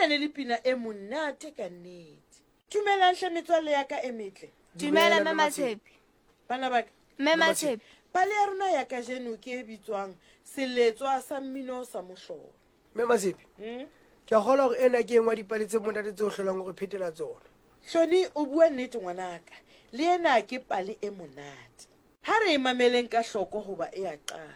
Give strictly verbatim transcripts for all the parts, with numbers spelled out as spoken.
Ena ne le pina e monate ka nnete. Dumelang hle metswalle ya ka e metle. Dumela Mme Matshepe. Bana ba ka. Mme Matshepe. Pale ya rona ya kajeno ke e bitswang Seletswa sa Mmino sa Mohlolo. Mme Matshepe. Hmm? Ke a kgolwa hore ena ke e nngwe ya dipale tse monate tseo hlolang hore phetela tsona. Hloni, o bua nnete ngwanaka. Le ena ke pale e monate. Ha re e mameleng ka hloko hoba e a qala.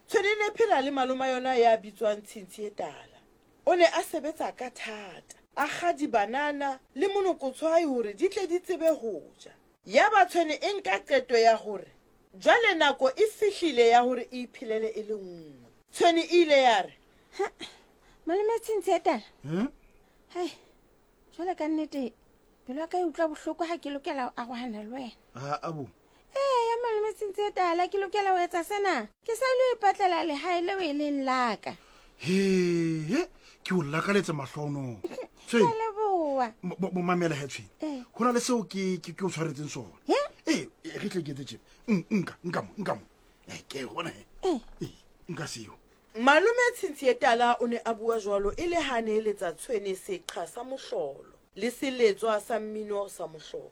Tshwene e ne phela le maloma yona ya bitswang Tshintshi e Tala. O ne a sebetsa ka thata, a kga dibanana le monokotshwai hore di tle di tsebe ho ja. Yaba tshwene e nka qeto ya hore jwale nako e fihlile ya hore e iphelele e le nngwe. Tshwene e ile ya re, Ha, malome Tshintshi e Tala. Hmm? Hai, jwale ka nnete pelo ya ka e utlwa bohloko ha ke lokela ho arohana le wena. Ha, abo. Ee, ya malome Tshintshi e Tala, ke lokela ho etsa sena. Ke sa ilo ipatlela lehae leo e leng la ka. He, he, ke o lakaletsa mahlono. Ke a leboha. Mo, mo, mo mamela he Tshwene. Eh. Ho na le seo ke, ke, ke o tshwaretseng sona. He? Ee, e, re tle ke etse tjena. N-, nka, nka mo, nka mo. Eh, ke bona he. Eh. Ee, nka seo. Malome Tshintshi e Tala o ne a bua jwalo e le ha ne eletsa Tshwene seqha sa mohlolo le seletswa sa mmino sa mohlolo.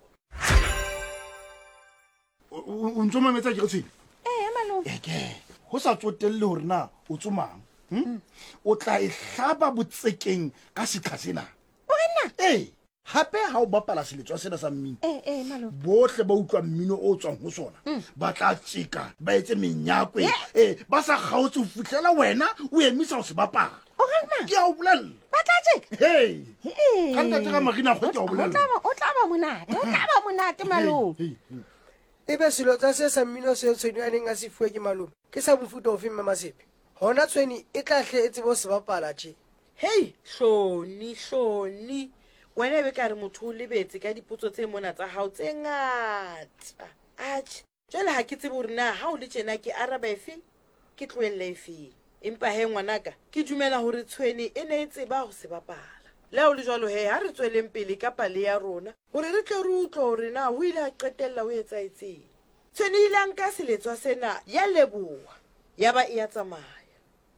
O, o, o ntso mametsa ke re Tshwene? Ee, malome. E ke, ho sa tsotelle hore na o tsomang, hm? O tla e hlaba botsekeng ka seqha sena. O re nna? Ee, hape ha o bapala seletswa sena sa mmino, Ee, ee, malome. bohle ba utlwa mmino o tswang ho sona, Mm. ba tla tjeka, ba etse menyakwe, Ye. ee, ba sa kgaotse ho fihlela wena o emisa ho se bapala. O re nna? Ke a o bolella. Ba tla tjeka? Hei. Ee. Ka ntate ka Marina Kgwe ke a o O bolella. tla ba, o tla ba monate, o tla ba monate, malome. Hei, hei, hei. Ebe selotsa se sa mmino seo Tshwene a neng a se fuwe ke malome, ke sa mofuta ofe Mme Matshepe? Hona Tshwene e tla hle e tsebe ho se bapala tje. Hei, Hloni, Hloni. Wena ebe ka re motho o lebetse ka dipotso tse mona tsa hao tse ngata. Atjhe, jwale ha ke tsebe hore na ha o le tjena ke araba efe, ke tlohelle efeng. Empa he ngwanaka, ke dumela hore Tshwene e ne e tseba ho se bapala. Le ha ho le jwalo he, ha re tsweleng pele ka pale ya rona hore re tle re utlwe hore na ho ile ha qetella ho etsahetseng. Tshwene e ile a nka seletswa sena ya leboha, ya ba e ya tsamaya.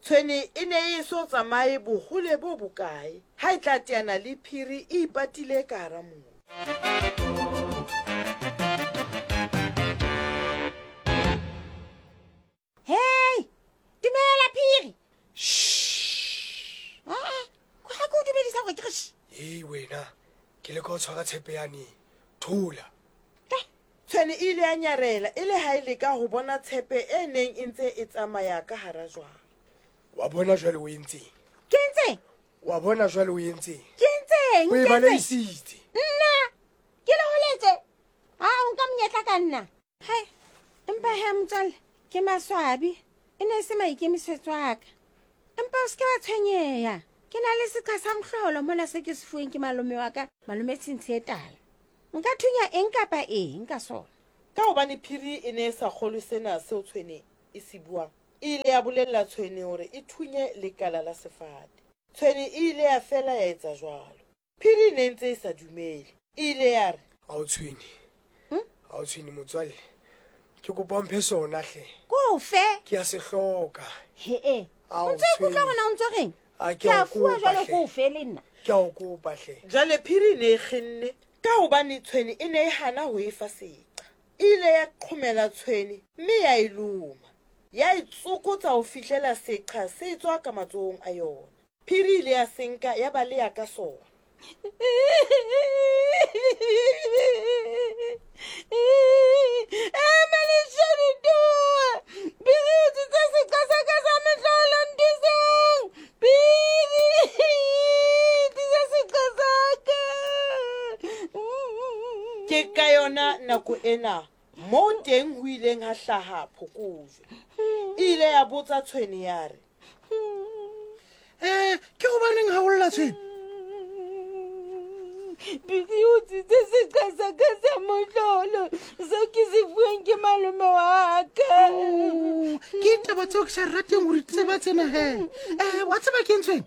Tshwene e ne e eso tsamaye bohole bo bokae ha e tla teana le phiri e ipatile ka hara mobu. Hei, dumela phiri. Shh. Ah, ha ke o dumedisa hore ke re shh. Hei wena, ke leka ho tshwara tshepe yane. Thola. Eh, Tshwene e ile ya nyarela e le ha e leka ho bona tshepe e neng e ntse e tsamaya ka hara jwang. Wa bona jwale o entseng? Ke entseng? Wa bona jwale o entseng? Ke entseng? O e Ke entseng? baleisitse. Nna ke le holetse. Ha o nka monyetla ka nna. Hai, empa he motswalle, ke maswabi. E ne e se maikemisetso a ka. Empa o se ke wa tshwenyeha. Ke na le seqha sa mohlolo mona se ke se fuweng ke malome wa ka, malome Tshintshi e Tala. Nka thunya eng kapa eng ka sona. Ka hobane phiri e ne e sa kgolwe sena seo Tshwene e se buang, e ile ya bolella Tshwene hore e thunye lekala la sefate. Tshwene e ile ya fela ya etsa jwalo. Phiri e ne ntse e sa dumele. E ile ya re, Ha o Tshwene. Hmm? Ha o Tshwene motswalle. Ke kopa o mphe sona hle. Ko fe? Ke a se hloka. He-e. Ao, O ntso ikutlwa Tshwene. hore na o ntso reng? A, ke Ke a a o fuwa kopa jwale hle. ko fe le nna. Ke a o kopa hle. Jwale phiri e ne e kgenne ka hobane Tshwene e ne e hana ho e fa seqa. E ile ya qhomela Tshwene mme ya e loma. Ya e tsokotsa ho fihlela seqha se tswa ka matsohong a yona. Phiri e ile ya se nka ya baleha ka sona. Ema leshano towa. Phiri o utswitse seqha sa ka sa mehlolo, nthuseng. Phiri, tlisa seqha sa ka. Ke ka yona nako ena moo teng ho ileng ha hlaha phokojwe. E ile ya botsa Tshwene ya re, Eh, ke hobaneng ha o lla Tshwene? Phiri o utswitse seqha sa ka sa mohlolo seo ke se fuweng ke malome wa ka. Oh, ke taba tseo ke sa rateng hore di tseba tsena he. Eh, wa tseba ke eng Tshwene?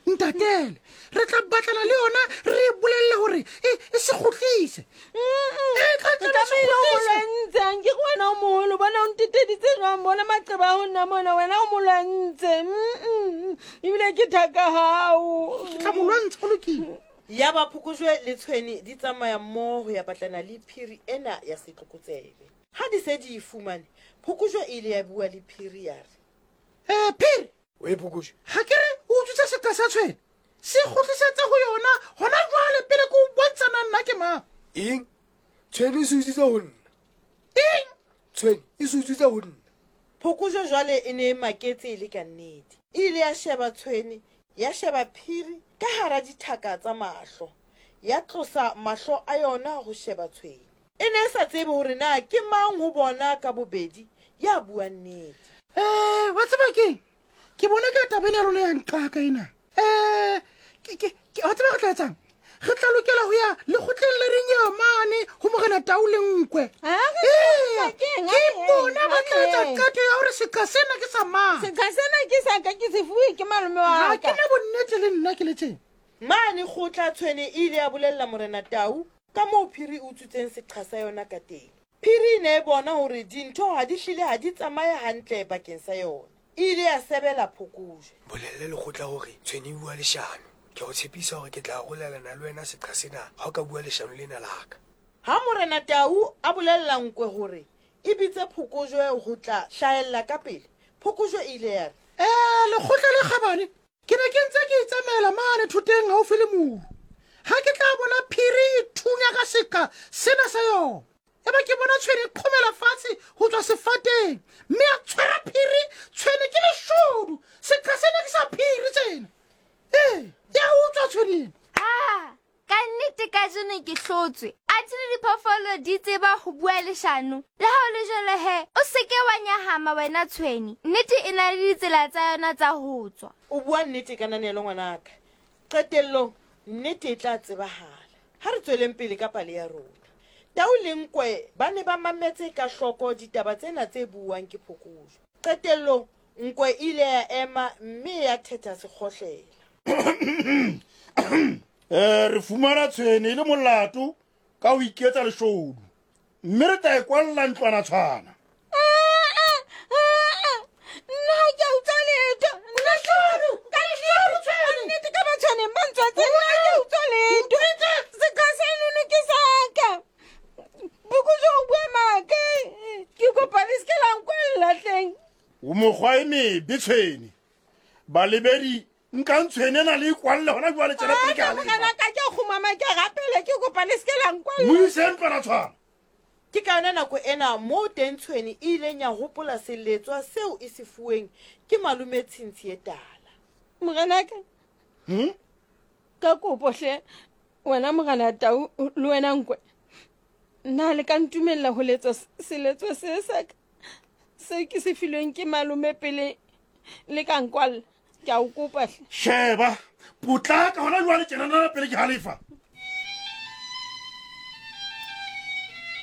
Ntatele, re tla batlana le yona re e bolelle hore e e se kgutlise. E tla Ke tla se tlamehile ho mo kgutlise. lwantsha nke ke wena o moholo bona o nteteditse jwang bona maqeba a ho nna mona wena o mo lwantse Mm-mm. ebile ke thaka hao Ke tla mo lwantsha ho lokile. Ya ba phokojwe le tshwene di tsamaya mmoho ho ya batlana le phiri ena ya setlokotsebe. Ha di se di e fumane, phokojwe e ile ya bua le phiri ya re, Eh phiri, Oe phokojwe. ha ke re o utswitse seqa sa tshwene. Se kgutlisetse ho yona hona jwale pele ke o bontsha na nna ke mang. Eng? Tshwene e se utswitse ho nna. Eng? Tshwene e se utswitse ho nna. Phokojwe jwale e ne e maketse e le ka nnete. E ile ya sheba tshwene, ya sheba phiri ka hara dithaka tsa mahlo. Ya tlosa mahlo a yona ho sheba tshwene. E ne e sa tsebe hore na ke mang ho bona ka bobedi ya buang nnete. Eh, wa tseba keng? Ke bona ka taba ena ya lona ya nqaka ena. Eh, ke ke ke wa tseba re tla etsang? Re tla lokela ho ya lekgotleng le reng eo mane ho Morena Tau le Nkwe. Ah, re Eya, tla keng? ke Ha re bona yeng, ba ha tla re etsa yeng. qeto ya hore seqa sena ke sa mang. Seqha sena ke sa ka ke se fuwe ke malome Ha wa ke ka. na bonnete le nna ke le tjena. Mane kgotla tshwene e ile ya bolella Morena Tau ka moo phiri e utswitseng seqha sa yona ka teng. Phiri e ne e bona hore dintho ha di hlile ha di tsamaye hantle bakeng sa yona. E ile ya sebela phokojwe. Bolelle lekgotla hore tshwene e bua leshano. Ke o tshepisa hore ke tla arolelana le wena seqha sena ha o ka bua leshano lena la ka. Ha Morena Tau a bolella Nkwe hore e bitse phokojwe ho tla hlahella ka pele, phokojwe e ile ya re, Eh, lekgotla le kgabane, ke ne ke ntse ke itsamaela mane thoteng haufi le moru. Ha ke tla bona phiri e thunya ka seqa sena sa yona. Eba ke bona tshwene e qhomela fatshe ho tswa sefateng, mme a tshwara phiri, tshwene ke leshodu. Seqa sena ke sa phiri tsena. Ee, ya utswa tshwene ena. Ah, ka nnete kajeno ke hlotswe. Athe le diphoofolo di tseba ho bua leshano. Le ha ho le jwalo he, o se ke wa nyahama wena tshwene. Nnete e na le ditsela tsa yona tsa ho tswa. O bua nnete ka nanelo ngwanaka. Qetellong nnete e tla tsebahala. Ha re tsweleng pele ka pale ya rona. Tau le Nkwe ba ne ba mametse ka hloko ditaba tsena tse buuwang ke phokojwe. Qetellong Nkwe e ile ya ema mme ya thetha sekgohlela. Eh, re fumana tshwene e le molato ka ho iketsa leshodu. Mme re tla e kwalla ntlwana tshwana. Nna ha ke a utswa letho. Nna ka nnete ka batshwaneng ba ntswatse nna ha ke a utswa letho. Seqha senono ke sa ka. Phokojwe o bua maaka. Ke kopa le se ke la nkwalla hleng. O mokgwa e mebe tshwene. Balebedi nkang tshwene ena le e kwalle hona jwale tjena pele ke Ah, halefa. morena ka ke a kgumama ke a rapela ke kopa le se ke la nkwalla. Mo ise ntlwana tshwana. Ke ka yona nako ena moo teng tshwene e ileng ya hopola seletswa seo e se fuweng ke malome Tshintshi e tala. Morenaka. Hmm? Ka kopo hle wena Morena Tau le wena Nkwe. Nna le ka ntumella ho letsa seletswa se sa ka se ke se filweng ke malome pele le ka nkwalla. Ke a o kopa hle. Sheba, potlaka hona jwale tjena pele ke halefa.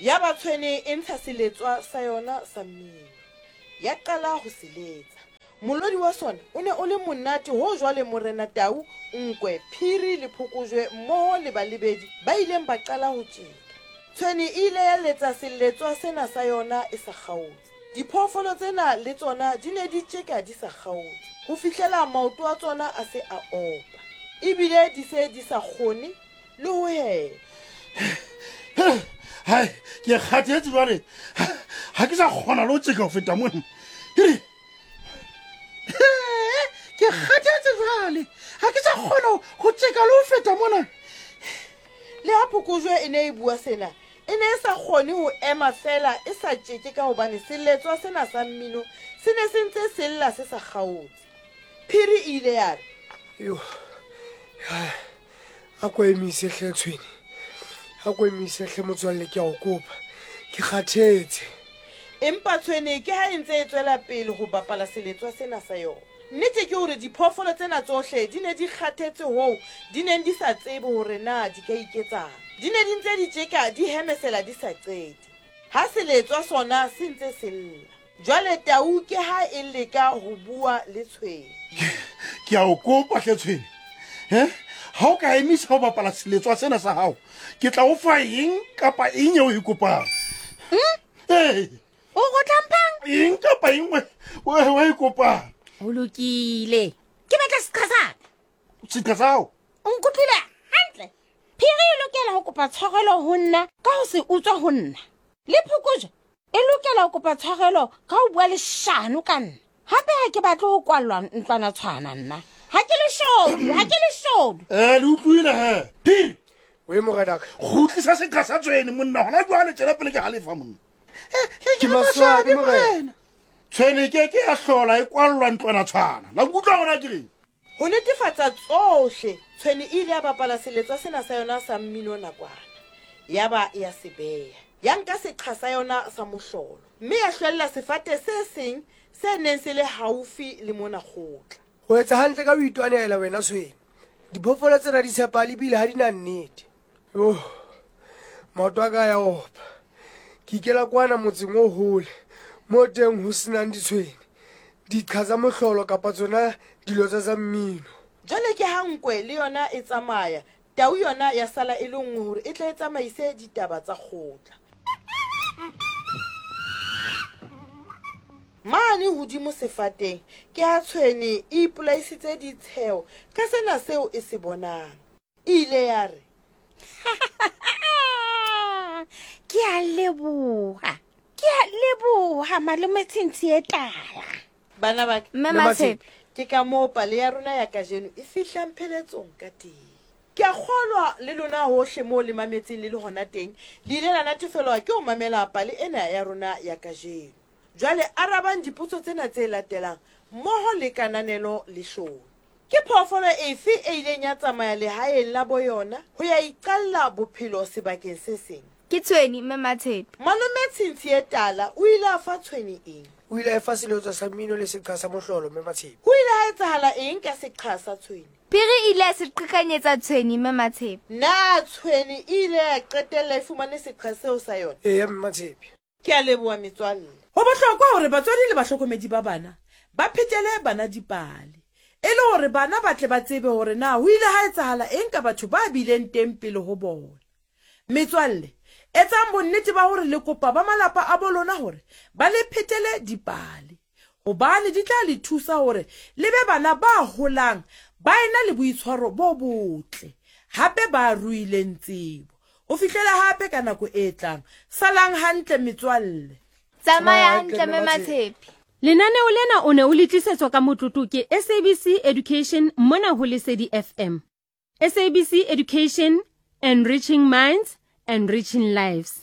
Ya ba tshwene e ntsha seletswa sa yona sa mmino. Ya qala ho se letsa. Molodi wa sona o ne o le monate ho jwale Morena Tau, Nkwe, Phiri le Phokojwe mmoho le balebedi ba ileng ba qala ho tjeka. Tshwene e ile ya letsa seletswa sena sa yona e sa kgaotse. Diphoofolo tsena le tsona di ne di tjeka di sa kgaotse ho fihlela maoto a tsona a se a opa. Ebile di se di sa kgone le ho hema. Hai, ke kgathetse jwale. Ha ke sa kgona le ho tjeka ho feta mona. Hei. Ke kgathetse jwale. Ha ke sa kgona ho tjeka le ho feta mona. Le ha phokojwe e ne e bua sena, e ne e sa kgone ho ema feela e sa tjeke ka hobane seletswa sena sa mmino se ne se ntse se lla se sa kgaotse. Phiri e ile ya re, Yo. A ko emise hle tshwene. A ko emise hle motswalle ke a o kopa. Ke kgathetse. Empa tshwene ke ha e ntse e tswela pele ho bapala seletswa sena sa yona. Nnete ke hore diphoofolo tsena tsohle di ne di kgathetse hoo di neng di sa tsebe hore na di ka iketsang. Di ne di ntse di tjeka di hemesela di sa qete. Ha seletswa sona se ntse se lla. Jwale tau ke ha e leka ho bua le tshwene. Ke a o kopa hle Tshwene. He? Ha o ka emisa ho bapala seletswa sena sa hao, ke tla o fa eng kapa eng eo o e kopang. Hmm? Ee. O go tlampang? Eng kapa eng o o e kopang. Ho lokile. Ke batla seqha sa ka. Seqha sa hao? O nkutlwile hantle. Phiri e lokela ho kopa tshwarelo ho nna ka ho se utswa ho nna. Le phokojwe e lokela ho kopa tshwarelo ka ho bua leshano ka nna. Hape ha ke batle ho kwallwa ntlwana tshwana nna. Ha ke leshodu, ha ke leshodu. Eh, le utlwile he. Phiri. Oe morenaka. Kgutlisa seqha sa Tshwene monna hona jwale tjena pele ke halefa monna. Ke maswabi morena. Tshwene ke ke ya hlola e kwallwa ntlwana tshwana. La nkutlwa hona ke reng? Ho netefatsa tsohle, Tshwene e ile ya bapala seletswa sena sa yona sa mmino nakwana. Ya ba ya se beha. Ya nka seqha sa yona sa mohlolo. Mme ya hlwella sefate se seng se neng se le haufi le mona kgotla. Ho etsa hantle ka ho itwanela wena Tshwene. Diphoofolo tsena di tshepahale ebile ha di na nnete. Yo, maoto a ka ya opa. Ke ikela kwana motseng o hole, moo teng ho senang ditshwene, diqha tsa mohlolo kapa tsona dilotsa tsa mmino. Jwale ke ha nkwe le yona e tsamaya, tau yona ya sala e le nngwe hore e tle e tsamaise ditaba tsa kgotla. Mane hodimo sefateng ke ha Tshwene e ipolaisitse ditsheo ka sena seo e se bonang. E ile ya re, Ke a leboha. Ke a leboha malome Tshintshi e tala. Bana ba ka, Mme Matshepe, ke ka moo pale ya rona ya kajeno e fihlang pheletsong ka teng. Ke a kgolwa le lona hohle moo le mametseng le le hona teng, le ile la natefelwa ke ho mamela pale ena ya rona ya kajeno. Jwale arabang dipotso tsena tse latelang mmoho le kananelo le hlolo. Ke phoofolo efe e ileng ya tsamaya lehaeng la boyona ho ya iqalla bophelo sebakeng se seng? Ke Tshwene Mme Matshepe. Malome Tshintshi e tala o ile a fa Tshwene eng? O ile a fa seletswa sa mmino le seqha sa mohlolo Mme Matshepe. Ho ile ha etsahala eng ka seqha sa Tshwene? Phiri e ile ya se qhekanyetsa Tshwene Mme Matshepe. Na Tshwene e ile ya qetella e fumane seqha seo sa yona? Eya Mme Matshepe. Ke a leboha metswalle. Ho bohlokwa hore batswadi le bahlokomedi ba bana ba phetele bana dipale, e le hore bana ba tle ba tsebe hore na ho ile ha etsahala eng ka batho ba bileng teng pele ho bona. Metswalle, etsang bonnete ba hore le kopa ba malapa a bo lona hore ba le phetele dipale, hobane di tla le thusa hore le be bana ba holang ba ena le boitshwaro bo botle, hape ba ruileng tsebo. Ho fihlela hape ka nako e tlang. Salang hantle metswalle. Tsamaya hantle Mme Matshepe. Lenaneo lena o ne o le tlisetswa ka motlotlo ke S A B C Education mona ho Lesedi F M. S A B C Education, enriching minds, enriching lives.